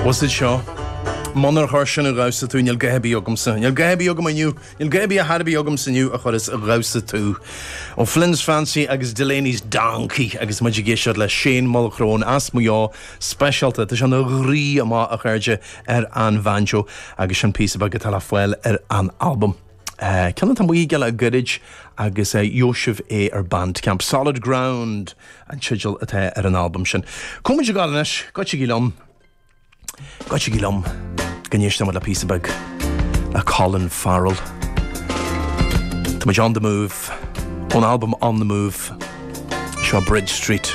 What's it seo? Munar chuir sin ar dhamhsa tú, níl a dhath ar bith agamsa. Níl a dhath ar bith agam inniu. Níl a dhath ar bith ar chor ar bith agamsa inniu a chuirfeas ar dhamhsa tú. O'Flynn's Fancy agus Delaney's Donkey agus muid ag éisteacht le Shane Mulchrone as Maigh Eo speisialta. Tá sé ina dhraoi amach, a chairde, ar an bhanjo agus sin píosa beag atá le fáil ar an albam. Ceann atá amuigh aige le gairid agus gheobhaidh sibh é ar Bandcamp. Solid Ground an teideal atá ar an albam sin. Cá bhfuil muid ag gabháil anois? Goitsigí liom. Goitsigí liom go n-éistfidh muid le píosa beag le Colin Farrell. Tá muid on the move ón albam On the Move. Seo Bridge Street.